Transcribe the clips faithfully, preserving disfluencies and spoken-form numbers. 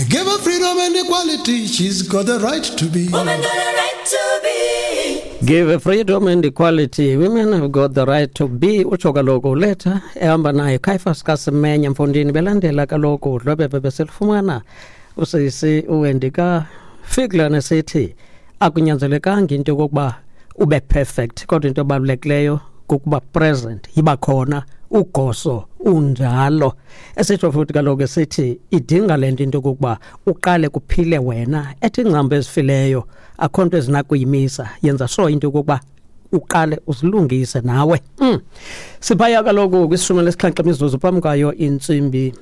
Give her freedom and equality, she's got the right to be. Women got a right to be. Give freedom and equality. Women have got the right to be. Utsho kaloku uletha ehamba naye Caiphus Kasemenya mfondini belandela kaloku dlwebebe beselifumana usisi uWendy kaFigler nesithi akunyanzelekanga into yokokuba ube perfect, kodwa into ebalulekileyo kukuba present, yiba khona ugoso unjalo. Esitsho futhi kaloku esithi idinga le nto into yokokuba uqale kuphile wena, ethi ingcambu ezifileyo akho nto ezinakuyimisa, yenza sure into yokokuba uqale uzilungise nawe. Mm. Siphaya kaloku kwishumi lesixhenxe imizuzu phambi kwayo intsimbi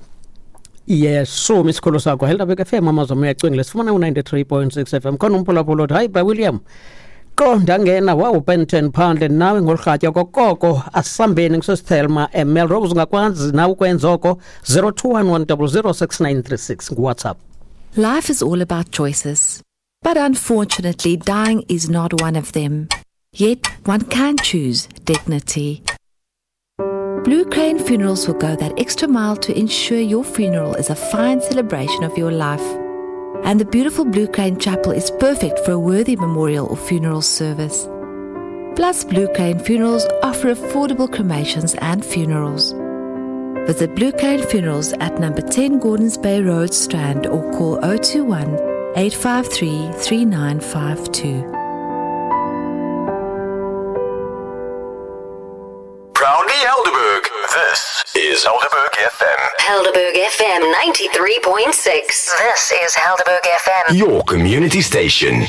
yeshumi. Isikholo sakho Helderberg F M, amazwi uyacingile, sifumana u-ninety-three point six F M. Khona umphulaphula othi hayi bra William, qo ndangena wawupenten phandle nawe ngolurhatya kokoko asambeni ngisosithelma eMelrose. Ungakwazi nawe ukwenza oko zero two one one double zero six nine three six nguWhatsApp. Life is all about choices, but unfortunately dying is not one of them. Yet one can choose dignity. Blue Crane Funerals will go that extra mile to ensure your funeral is a fine celebration of your life. And the beautiful Blue Crane Chapel is perfect for a worthy memorial or funeral service. Plus, Blue Crane Funerals offer affordable cremations and funerals. Visit Blue Crane Funerals at number ten Gordons Bay Road, Strand, or call oh two one, eight five three, three nine five two. Proudly Helderberg. This is Helderberg F M. Helderberg F M ninety-three point six. This is Helderberg F M, your community station.